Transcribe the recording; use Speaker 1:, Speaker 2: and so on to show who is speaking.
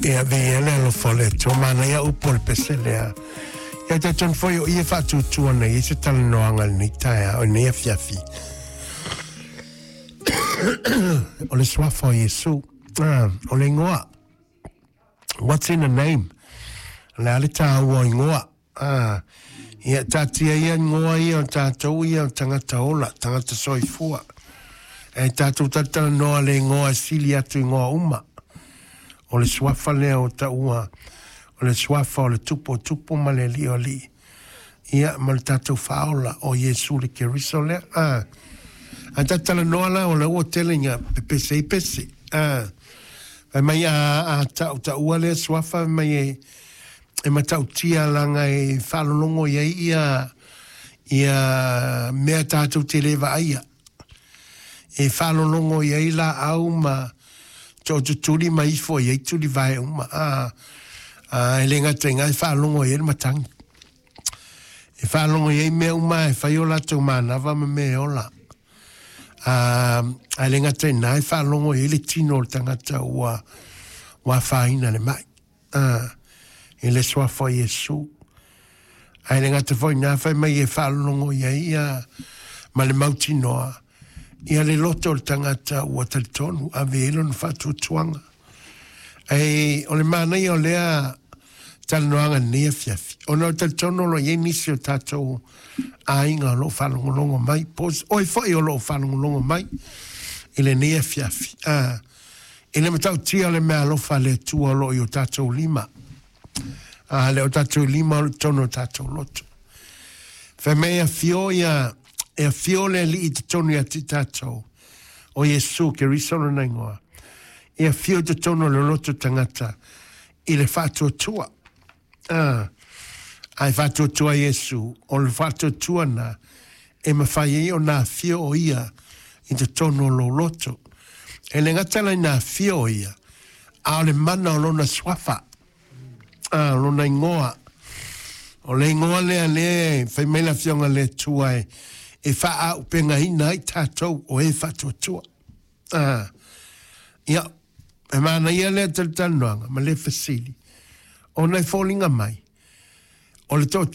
Speaker 1: Ia, viia le alofa o le Atua, manaia upu o le pese lea. Ia talitonu foi o i e faatuatua nei ai se talanoaga i lenei taeao, i lenei afiafi. O le suafa o Iesu. Ah, o le igoa. What's in a name? O le a le taua o igoa? Ah, ia taatia ia igoa ia o tatou ia o tagata ola, tagata soifua. E tatou talatalanoa le igoa e sili atu igoa uma. O le suafa lea o taua, o le suafa o le Tupu o Tupu ma le Alii o Alii. Ia, ma le tatou Faaola o Iesu le Keriso lea. Ah, a tatou talanoa la, o lea ua tele ina pepese ai pese. Ah, fai mai a, a tau taua lea suafa, fai mai e, e matautia laga e faalologo i ai ia ia mea tatou te le vaaia. E faalologo i ai laau ma tootutuli ma ifo i ai tulivae uma. A, a, e le gata i ina e faalogo i ai le matagi. E faalogo i ai mea uma e fai o latou manava ma mea e ola. A, a e le gata i ina e faalogo i ai le tino o le tagata ua, ua afaina le mai. A, i le suafa o Iesu. Ae le gata foi i ina, fai mai e faalologo i ai ia ma le mautinoa ia le loto o le tagata ua talitonu, ave i ai lona faatuatuaga. Ae o le manaia o lea talanoaga i lenei afiafi, ona o le talitonu o lo o i ai nisi o tatou aiga o lo o faalogologo mai, po o oe foi o lo o faalogologo mai i lenei afiafi. A, I le matautia o le meaalofa a le Atua o lo o i o tatou lima, a le o tatou lima o lo o i totonu o tatou loto. Fai mai e afio ia, e afio le Alii i totonu ia te i tatou, o Iesu Keriso lona igoa, e afio i totonu o le loto tagata i le faatuatua. A, a e faatuatua Iesu, o le faatuatua na e mafai ai ona afio o ia i totonu o lou loto. E le gata la ina afio o ia, a o le mana o lona suafa, a, o lona igoa. O le igoa lea lea e fai mai le Afioga i le Atua e, e faaaupegaina ai tatou o e faatuatua. A, ia, e manaia lea talatalanoaga ma le fesili, ona e foliga mai, o le toatele.